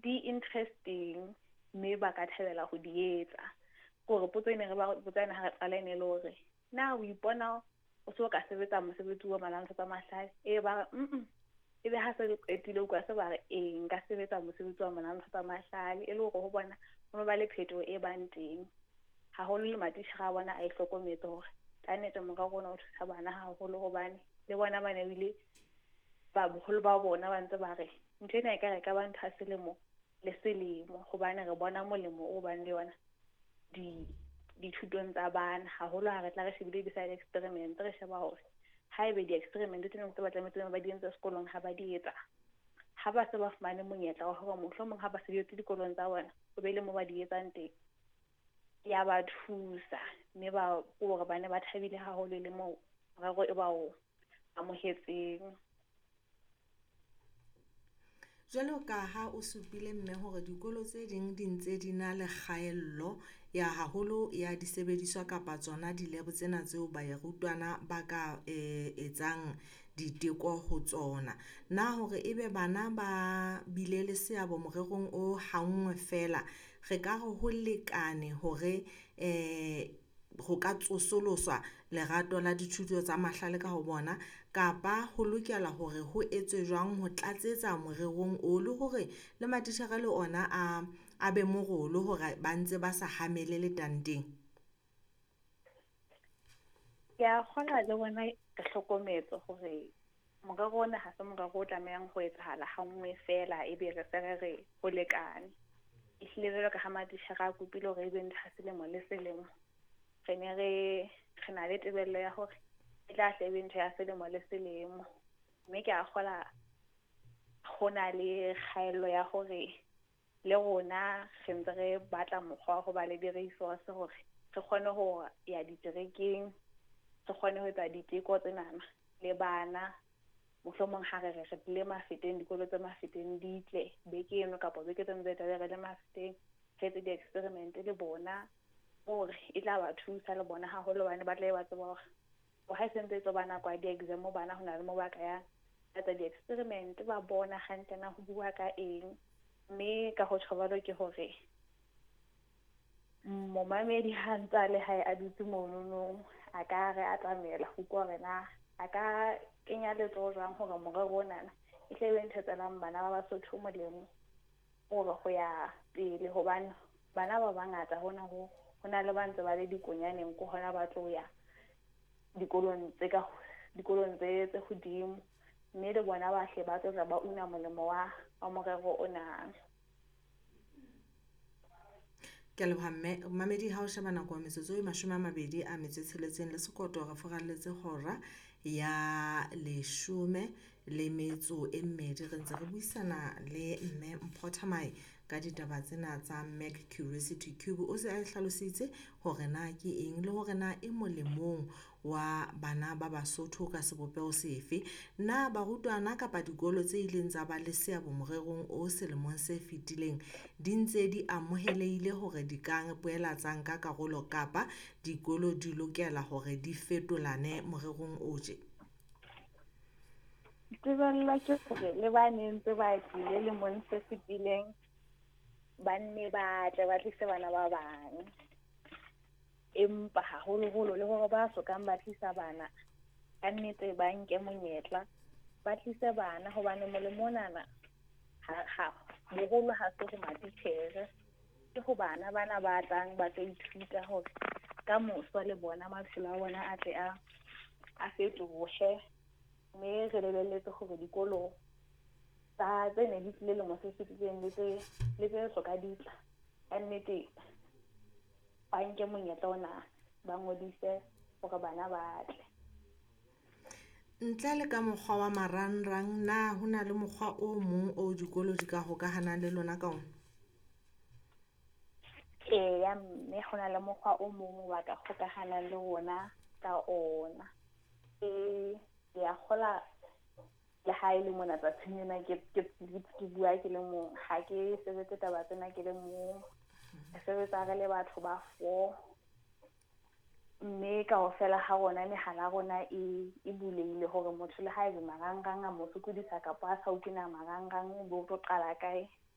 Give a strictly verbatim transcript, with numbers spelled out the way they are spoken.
Di interesting mme ba ka thabela ho di etsa. Ke hore potso e ne re ba botsa yona ha re qala e ne le hore na o ipona o so ka sebetsa mosebetsi wa manang tsa mahlale, e ba re mm ebe ha se re qetile utlwa se ba re ee nka sebetsa mosebetsi wa manang tsa mahlale, e le hore ho bona ho ba le phetoho e bang teng. Haholo le matitjhere a bona a e hlokometse hore ka nnete morero ona o thusa bana haholo, hobane le bona ba ne bile ba boholo ba bona ba ntse ba re ntho ena e ka re ka ba ntho ya selemo le selemo, hobane re bona molemo o bang le yona di dithutong tsa bana. Haholo ha re tla re shebile di-side experiment, re sheba hore haebe di-experiment tsena tse ba tlametse ba di entse sekolong ha ba di etsa, ha ba se ba fumane monyetla wa hore mohlomong ha ba se di etse dikolong tsa bona, ho be le mo ba di etsang teng, ya ba thusa. Mme ba hore ba ne ba thabile haholo le moo morero e ba o amohetseng. Jwalo ka ha o supile mme hore dikolo tse ding di ntse di na le kgaello ya haholo ya disebediswa kapa tsona di-lab tsena tseo barutwana ba ka eh etsang diteko ho tsona. Na hore ebe bana ba bile le seabo morerong o hanngwe fela, re ka re ho lekane hore eh ho ka tsosoloswa lerato la dithuto tsa mahlale ka ho bona, kapa ho lokela hore ho etswe jwang ho tlatsetsa morerong o, le hore le matitjhere le ona a a be morolo hore ba ntse ba sa hamele letanteng? Ke a kgolwa le bona re hlokometse hore morero ona ha se morero o tlamehang ho etsahala ha nngwe fela ebe re se re re ho lekane. Ehlile jwalo ka ha matitjhere a kopile hore ebe ntho ya selemo le selemo, re ne re re na le tebello ya hore e tla hle ebe ntho ya selemo le selemo. Mme ke a kgola ho na le kgaello ya hore le rona re ntse re batla mokgwa wa ho ba le di-resource hore re kgone ho ya diterekeng, re kgone ho etsa diteko tsenana le bana. Mohlomong ha re re re tlile Mafeteng, dikolo tse Mafeteng di tle beke eno kapa beke tse ntse tlabe re le Mafeteng, re etse di-experiment le bona hore e tla ba thusa le bona haholo, hobane ba tla be ba tseba hore ha e sentse e tlo ba nako ya di-exam bana ho na le moo ba ka yang ba etsa di-experiment, ba bona hantle na ho bua ka eng. Mme ka ho tjho jwalo ke hore momamedi ha ntse a le hae a dutse monono, a ka re atamela ho utlwa hore na a ka kenya letsoho jwang hore morero onana e tle be ntho e tswelang bana ba Basotho molemo hore ho ya pele, hobane bana ba bangata hona ho ho na le ba ntse ba le dikonyaneng ko hona ba tlo ya dikolong tse ka dikolong tse tse hodimo, mme le bona ba hle ba tlo tla ba una molemo wa wa morero ona. Ke a leboha mme. Mamedi ha o sheba nako ya metsotso e mashome a mabedi a metso e tsheletseng le sekoto re furalletse hora ya leshome le metso e mmedi, re ntse re buisana le mme Mpho Thamae ka ditaba tsena tsa Mac Curiosity Cube. O se a hlalositse hore na ke eng le hore na e molemong wa bana ba Basotho ka sebopeho sefe. Na barutwana kapa dikolo tse ileng tsa ba le seabo morerong o selemong se fetileng di ntse di amohelehile hore di ka boela tsa nka karolo, kapa dikolo di lokela hore di fetolane morerong o tje? Tebello ke hore le ba neng ntse ba tlile lemong se fetileng ba nne ba tle ba tlise bana ba bang, empa haholoholo le hore ba sokang ba tlisa bana ka nnete ba nke monyetla ba tlise bana, hobane molemo onana ha ha boholo ha se ho matitjhere, ke ho bana bana ba tlang ba tlo ithuta hore ka moso le bona maphelo a bona a tle a a fetohe. Mme re lebelletse hore dikolo tsa tse ne di tlile lemo se fetileng le tse le tse soka di tla, ka nnete ba nke monyetla ona ba ngodise hore bana ba tle. Ntle le ka mokgwa wa marangrang, na ho na le mokgwa o mong o dikolo di ka hokahanang le lona ka ona? Eya, mme ho na le mokgwa o mong wa ka hokahanang le rona ka ona. E ke a kgola le ha e le mona tsatsing lena ke ke ke bua ke le mong, ha ke sebetse taba tsena ke le mong, re sebetsa re le batho ba four, mme kaofela ha rona mehala ya rona e e bulehile hore motho le haebe marangrang a mo sokodisa kapa a sa utlwe na marangrang bo tlo qala kae,